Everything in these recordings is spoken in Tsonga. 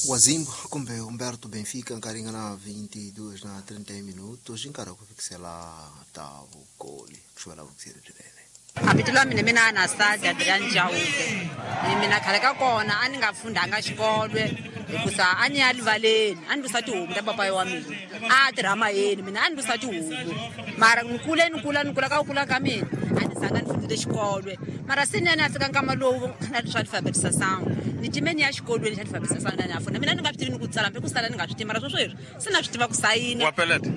Wazimbo kumbe Humberto Benfica nkarhi nga na 22 na 31 minutos nkarhi wa ku fikisela ta vukoli ku xuvela vukiseri byinene. Mavito la mina mina Anastasia Adrian Chauke. Ni mina khale ka kona a ni nga fundanga xikolo hikusa a ni ya rivaleni a ni lusa tihomu ta papayi wa mina a tirha mayeni mina a ni lusa tihomu mara ni kule ni kula ni kula ka ku kula ka mina a ni zanga ni fundile xikolo mara se ni ya ni ya fika nkama lowu na swa alphabetisação ni time ni ya xikolweni xa alphabetisação na ni ya funda mina ni nga swi tivi ni ku tsala hambi ku sala ni nga swi tivi mara sweswi se na swi tiva ku sayina. Wa peleta?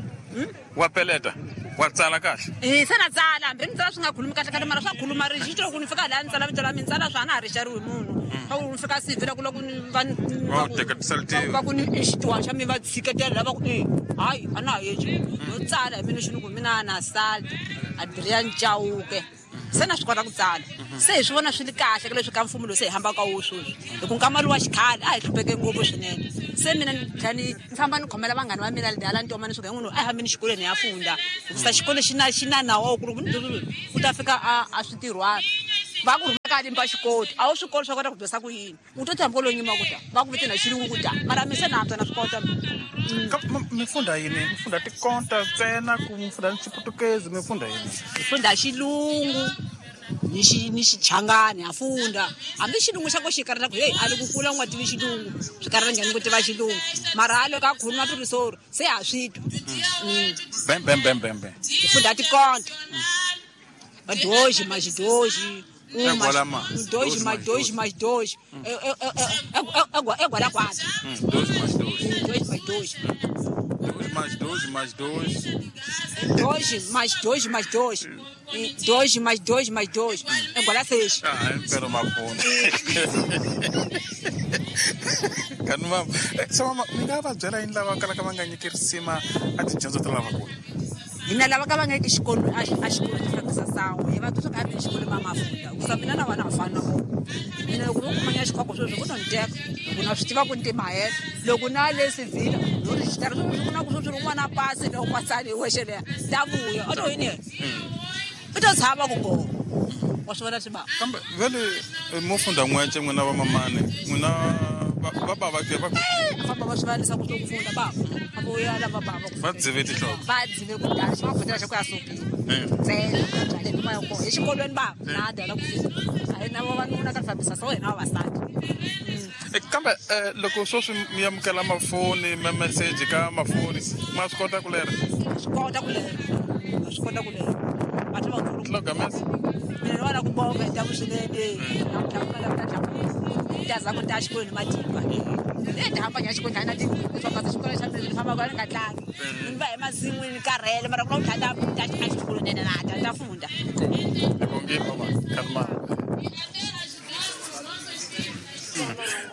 Wa peleta? Wa tsala kahle? E se na tsala hambi ni tsala swi nga khulumi kahle kahle mara swa khuluma ri xi ku ni fika laha ni tsala vito la mina tsala swa na ha ri xariwi munhu swa ku ni fika sivi la ku loko ni va va ku ni i xitiwani xa mi va tshiketela lava ku e hayi a na ha yeci no tsala hi mina xi ni ku mina na salt Adrian Chauke. Se na swi kota ku tsala. Se hi swi vona swi ri kahle ka leswi ka mfumo lowu se hi hambaka ka wo sweswi hi ku nkama lowa xikhale a hi hlupheke ngopfu swinene. Se mina ni tlhela ni ni famba ni khomela vanghana va mina hala ntoma ni suka hi n'wina a hi hambeni xikolweni hi ya funda hikusa xikolo xi na xi na nawu wa ku loko u ta fika a a switirhwana va ku rhuma ka limba xikolo a wu swi koti swa kota ku dyondzisa ku yini. U to tshama kwalomu nyuma ku ta va ku vitana hi xilungu ku ta mara mi se na antswa na swi kota. Mi funda yini? Mi funda tikonta ntsena ku mi funda ni xiputukezi mi funda yini? Hi funda xilungu ni xi ni xichangani ha funda hambi xilungu xa ko xi karata ku heyi a li ku kula u nga tivi xilungu swi karata njhani ku tiva xilungu mara a loko a khuluma pirisori se ha swi twa. Bem bem bem bem bem. Hi funda tikonta vadoji maxidoji. Dois mais dois mais dois. É Guaraquara. Dois mais dois. Dois mais dois. Dois mais dois mais dois. Dois mais dois mais dois. Dois mais dois mais dois. É igual a seis. Ah, impela mafona. Kanti mama, se mama mi nga va byela yini lava kalaka va nga nyiki risima a tidyondzo ta lavakulu? Hina lava ka va nga yiki xikolweni a a xikolweni xi fambisa sangu hi va twa swa ku a xikolweni va mafunda hikusa mina na vona ha fani na vona mina loko no kuma nya xikhoko sweswi ku no ni teka loko na swi tiva ku ni timahela loko na le sivhila no rejistara sweswi ku na ku sweswi rin'wana pasi loko pasani hi wexe leya ta vuya u to yini yena u to tshama ku go wa swi vona swi ba kambe vele mo funda n'wece n'wina va mamani n'wina va bava ke va famba va swi valisa ku ku funda bava va vuya lava bava va dzive tinhloko va dzive ku dala xi va fundela xa ku ya sopini ntsena byale ni moya kona exikolweni bava na dala ku fika a hi na vavanuna ka fambisa so hina vavasati. Kambe loko sweswi mi amukela mafoni ma meseji ka mafoni ma swi kota ku lera swi kota ku lera swi kota ku lera batho ba Logamesa mina ni vona ku bonga hi taku swinene namuntlha ku la ta ta za ku ta xikolweni matimba ni ta hamba nya xikolweni na ti swa kasi xikolo xa mina ni famba ka ni nga tlangi ni va emasin'wini ni karhele mara ku na ku ta ta xikolweni na ta ta funda. Hi bongile mama khalma.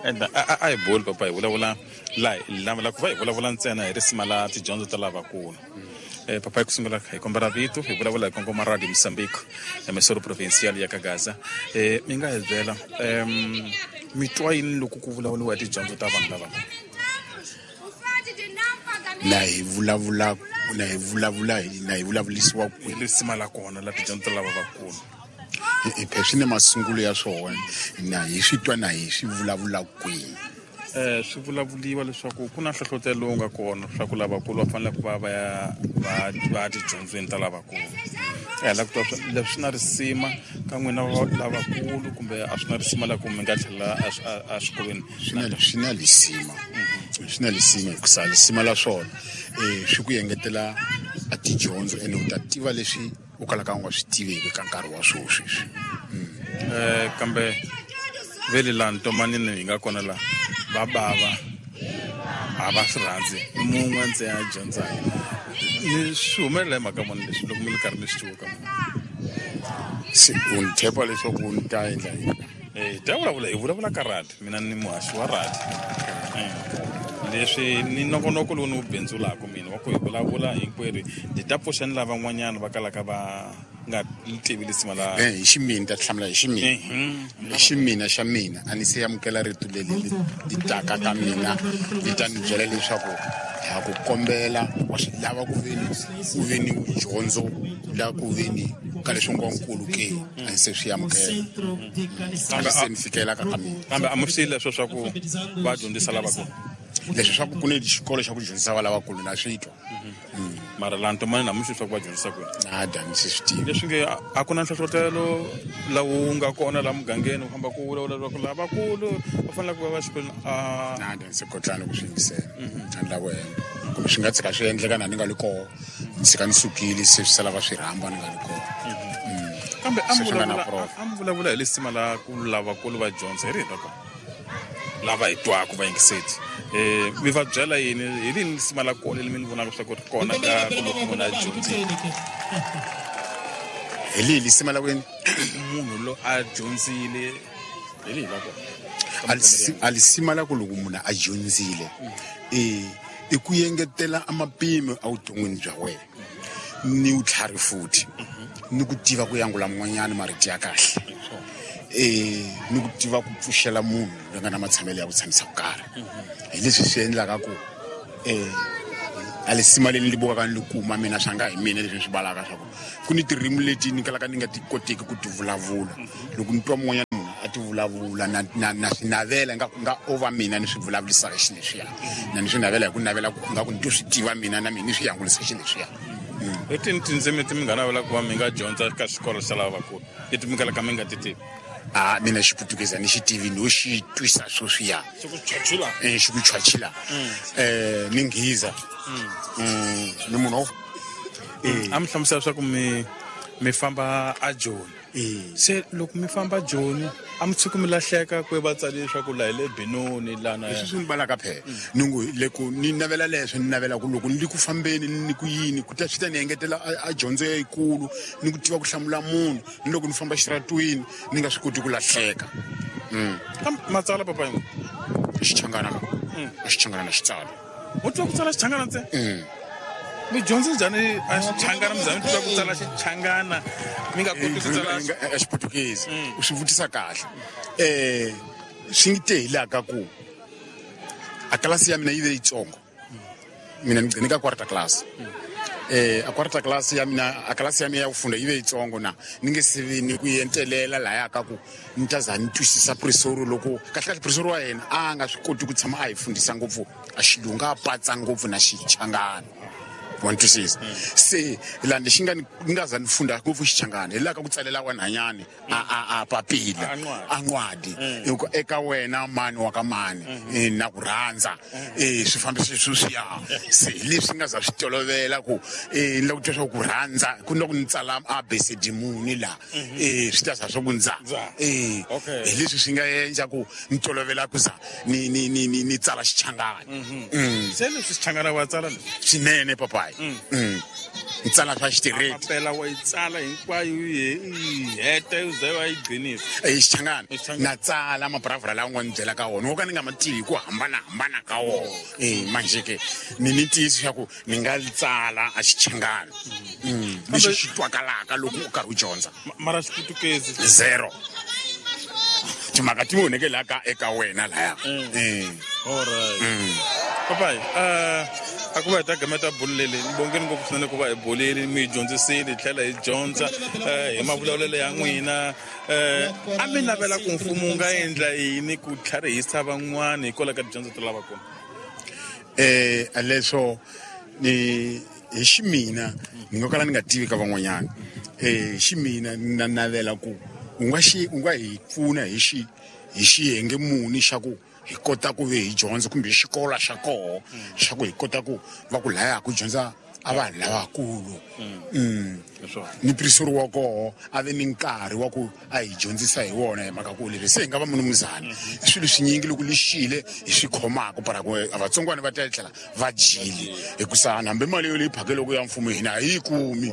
Enda a hi boli papa hi vulavula la la ku va hi vulavula ntsena hi risima la tidyondzo ta lavakulu. Papa hi ku sungula hi kombela vito hi vulavula hi kongoma Radio Mozambique emissora provincial ya Kagaza. Mi nga hi byela mi twa yini loko ku vulavuriwa hi tidyondzo ta vanhu lava? Na hi vulavula na hi vulavula na hi vulavulisiwa ku risima la kona la tidyondzo ta lava vakulu. Hi swi na masungulo ya swona na hi swi twa na hi swi vulavula kwihi? Swi vulavuliwa leswaku ku na nhlohlotelo lowu nga kona leswaku lavakulu va fanele ku va va ya va va tidyondzweni ta lavakulu. Hi lava ku twa leswi swi na risima ka n'wina lavakulu kumbe a swi na risima la ku mi nga tlhela exikolweni? Swi na lisima, swi na lisima hikusa lisima la swona swi ku engetela a tidyondzo ene u ta tiva leswi u kalaka u nga swi tiveki ka nkarhi wa sweswi. Kambe vele laha ntomanini hi nga kona laha va bava a va swi rhandzi mun'we ntsena a dyondzaka ni swi humelela hi mhaka muni leswi loko mi ri karhi mi swi tiva ka munhu? Se u ni tshepa leswaku ni ta endla yini? Hi ta vulavula hi vulavula ka radi mina ni muhaxi wa radi leswi ni nongonoko lowu ni wu bindzulaka mina wa ku hi vulavula hinkwerhu hi ta pfuxa ni lavan'wanyana va kalaka va nga tivi lisima la hi ximina ta hlamula hi ximina hi ximina xa mina a ni se amukela rito leri li taka ka mina li ta ni byela leswaku ha ku kombela wa swi lava ku veni u ve ni dyondzo la ku veni Ka leswi ngo nkulu ke a se swi amukela kambe se ni fikela ka mina. Kambe a mi swi leswo swa ku va dyondzisa lavakulu? Leswi swa ku ku ni xikolo xa ku dyondzisa va lavakulu na swi twa. Mara laha Ntomani na mi swi swa ku va dyondzisa kwini? Nada, ni swi tivi. Leswi nge a ku na nhlohlotelo lowu nga kona laha mugangeni u famba ku vulavula leswaku lavakulu va fanele ku va va xikolweni a nada, ni se kotlani ku swi yingisela. A ni lava ku hemba kumbe swi nga tshika swi endleka na ni nga li koho, ni tshika ni sukile se swi sala va swi rhamba ni nga li koho. Kambe a mi vulavula hi lisima la ku lavakulu va dyondza hi rihi ra kona lava hi twaka va yingiseti, mi va byela yini hi rini lisima la kona leri mi ni vonaka swa ku ri kona ka ku loko munhu a dyondzile? Hi lihi lisima la kwini? Munhu lo a dyondzile hi lihi la kona? A lisima la ku loko munhu a dyondzile i ku engetela a mapimo evuton'wini bya wena ni vutlhari futhi ni ku tiva ku yangula mun'wanyana marito ya kahle, ni ku tiva ku pfuxela munhu loyi nga na matshamelo ya ku tshamisa ku karhi. Hi leswi swi endlaka ku a lisima leri ni bukaka ni li kuma mina swa nga hi mina leswi ni swi balaka swa ku ku ni tirimi leti ni kalaka ni nga ti koteki ku ti vulavula. Loko ni twa mun'wanyana munhu a ti vulavula na swi navela nga nga o va mina ni swi vulavurisaka xileswiya, na ni swi navela hi ku navela ku nga ku ni to swi tiva mina na mina ni swi yangulisa xileswiya. Hi tini tindzimi ti mi nga navela ku va mi nga dyondza ka xikolo xa lavakulu leti mi kalaka mi nga ti tivi? A mina xiputukeza ni xi tivi, no xi twisa sweswiya xi ku chachila. Xi ku chachila. Ni nghiza. Ni munhu a mi hlamusela leswaku mi famba a Joni. Se loko mi famba Joni a mi tshuki mi lahleka ku va tsale leswaku laha hi le Benoni lana? Leswi swi ni balaka phela ni ngo loko ni navela leswo ni navela ku loko ni li ku fambeni ni ku yini ku ta swi ta ni engetela a dyondzo yikulu ni ku tiva ku hlamula munhu ni loko ni famba xitaratwini ni nga swi koti ku lahleka. Kambe matsala papa yin'we? Xichangana ka a xichangana na xitsala. U twa ku tsala xichangana ntsena? Mi dyondze njhani a xichangana? Mi za mi twa ku tsala xichangana mi nga koti ku tsala a xiputukezi? U swi vutisa kahle. Swi ngi te hi laha ka ku a klasi ya mina yi ve yitsongo, mina ni gcine ka quarter class. A quarter class ya mina, a klasi ya mina ya ku funda yi ve yitsongo na ni nge se vi ni ku entelela lahaya ka ku ni ta za ni twisisa prisoro. Loko kahle kahle prisoro wa yena a nga swi koti ku tshama a hi fundisa ngopfu a xilungu, a patsa ngopfu na xichangana, wa ni twisisa? Se laha lexi nga ni nga za ni funda ngopfu xichangana hi laha ka ku tsalela wanhanyani a papila a ncwadi eka wena mani wa ka mani, na ku rhandza, swi fambisa sweswiya. Se hi leswi nga za swi tolovela ku ni lava ku twa swa ku rhandza ku ni loko ni tsala a b c d muni laha, swi ta za swa ku ndza. Hi leswi swi nga endla ku ni tolovela ku za ni ni ni ni ni tsala xichangana. Se leswi xichangana wa tsala leswi? Swinene papayi. Ni tsala swa xitireti. Papela wa yi tsala hinkwayo yi heta yi ze wa yi gcinisa? Xichangana na tsala maburavura lawa nga ni byela ka wona wo ka ni nga ma tivi ku hambanahambana ka wona. Manje ke ni ni ntiyiso xa ku ni nga tsala a xichangana lexi xi twakalaka loko u karhi u dyondza. Mara xiputukezi? Zero. Timhaka ti voneke laha ka eka wena laya. Alright papayi, a ku va hi ta gameta bulu leli ni bongeni ngopfu swinene ku va hi bolile, mi hi dyondzisile hi tlhela hi dyondza hi mavulavulelo ya n'wina. A mi navela ku mfumo wu nga endla yini ku tlharihisa van'wani hikwalaho ka tidyondzo ta lavakulu? Leswo ni hi ximina ni nga kala ni nga tivi ka van'wanyana, ximina na navela ku u nga xi u nga hi pfuna hi xi hi xiyenge muni xa ku hi kota ku ve hi dyondza kumbe xikolo xa koho xa ku hi kota ku va ku laya ku dyondza a vanhu lavakulu. Ni prisori wa koho a ve ni nkarhi wa ku a hi dyondzisa hi wona, hi mhaka ku leswi se hi nga va munumuzana i swilo swinyingi loko lexile hi swi khomaka para ku vatsongwana va ta tlhela va dyile hikusa hambi mali yo leyi phakeleke ya mfumo hina a yi kumi,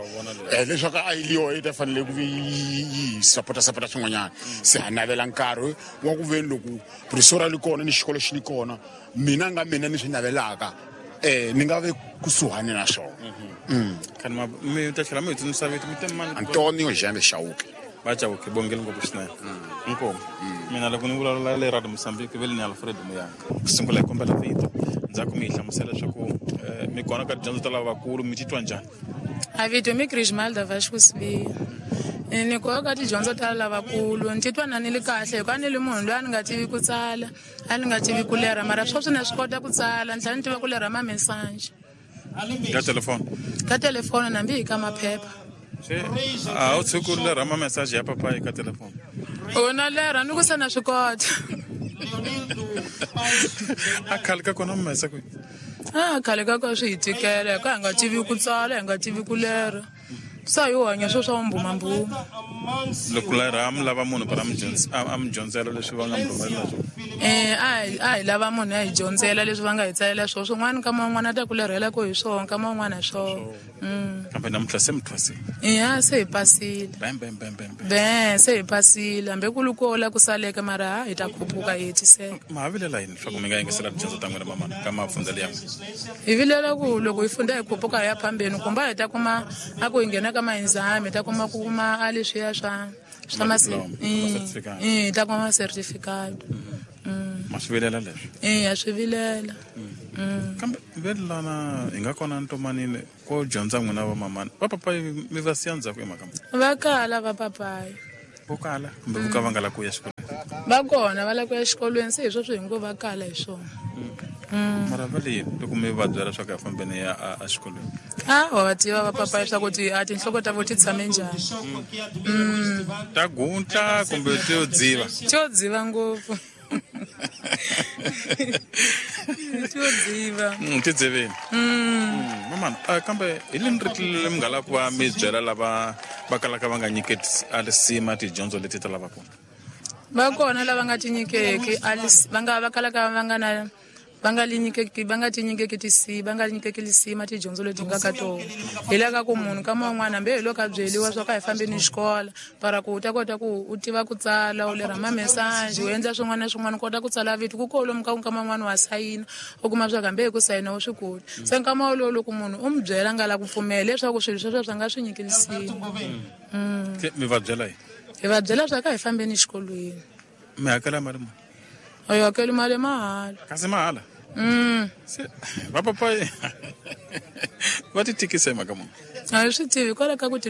leswaku a yi liyo yi ta fanele ku yi sapota sapota swin'wanyana. Se ha navela nkarhi wa ku veni loko prisori li kona ni xikolo xi li kona, mina nga mina ni swi navelaka ni nga ve kusuhani na swona. Khani mi ta tlhela mi hi tsundzuxa vito, mi te mani? Antonio Jambe Chauke. Va Chauke, bongeli ngopfu swinene. Inkomu. Mina loko ni vulavula le Radio Mozambique ve le ni Alfred Muyanga. Ku sungula hi kombela vito, ndzhaku mi hi hlamusela leswaku mi kona ka tidyondzo ta lavakulu, mi titwa njhani? A vito mi Grismalda Vasco Sibiya. Ni ku ka tidyondzo ta lavakulu ni titwa na ni li kahle hikuva ni li munhu loyi a ni nga tivi ku tsala, a ni nga tivi ku lerha, mara sweswi na swi kota ku tsala, ni tlhela ni tiva ku lerha mamesaji. Ka telefoni? Ka telefoni hambi hi ka maphepha. Se a wu tshuki u lerha mamesaji ya papayi ka telefoni? O na lerha ni ku se na swi kota. A khale ka kona mi mesa kwihi? A khale ka kona swi hi tikela hikuva hi nga tivi ku tsala, hi nga tivi ku lerha. Sa hi hanya swo swa mbumambuma. Loko lerha mi lava munhu para a mi dyondzela leswi va nga mi rhumelela swona? A hi lava munhu a hi dyondzela leswi va nga hi tsalela swona. Swin'wana nkama wun'wana a ta ku lerhela ku hi swona, nkama wun'wana hi swona. Kambe namuntlha se mi thwasile? Eya, se hi pasile. Bam, bam, bam, bam, bam. Be, se hi pasile. Hambi ku ri ko la ku saleke mara hi ta khuphuka hi hetiseka. Ma ha vilela yini leswaku mi nga yingisela tidyondzo ta n'wina mamana ka mafundzelo ya n'wina? Hi vilela ku loko hi funda hi khuphuka hi ya phambeni, kumbe hi ta kuma a ku hi nghena ka ma-exam, hi ta kuma ku kuma a leswiya swa swa Ma diploma, ma certificate. Hi ta kuma certificate. Ma swi vilela leswi? Ha swi vilela. Kambe velana hi nga kona ntomanini ko dyondza n'wina va mamana, va papayi mi va siya ndzhaku hi mhaka muni? Va kala va papayi. Vo kala kumbe vo ka va nga lavi ku ya xikolweni? Va kona va lava ku ya xikolweni, se hi sweswo hi ngo va kala hi swona. Mara va le yini loko mi va byela leswaku a fambeni ya a xikolweni? A wa va tiva va papayi leswaku a tinhloko ta vo ti tshame njhani. Ta gutla kumbe ti yo dziva? Ti yo dziva ngopfu. Ti yo dziva. Ti dzivini. Mamana, kambe hi lini ri tlilele mi nga lava ku va mi byela lava va kalaka va nga nyiketi a lisima tidyondzo leti ta lavakulu? Va kona lava nga ti nyikeki a va nga va kalaka va nga na va nga li nyikeki, va nga ti nyikeki tisi, va nga nyikeki lisima tidyondzo leti nga ka tona. Hi la ka ku munhu ka man'wana hambi hi loko a byeliwa swa ku a hi fambeni xikolo, para ku u ta kota ku u tiva ku tsala, u lerha mamesaji, u endla swin'wana na swin'wana, u kota ku tsala vito. Ku kolomu ka nkama wun'wana wa sayina, u kuma swa ku hambi hi ku sayina u swi koti. Se nkama wolowo loko munhu u n'wi byela nga la ku pfumela leswaku swilo sweswo swa nga swi nyiki lisima. Se mi va byela yini? Hi va byela swa ku a hi fambeni xikolweni. Mi hakela mali muni? A hi hakeli mali mahala. Kasi mahala? Se va papayi va ti tikisa hi mhaka muni? A hi swi tivi hikwalaho ka ku ti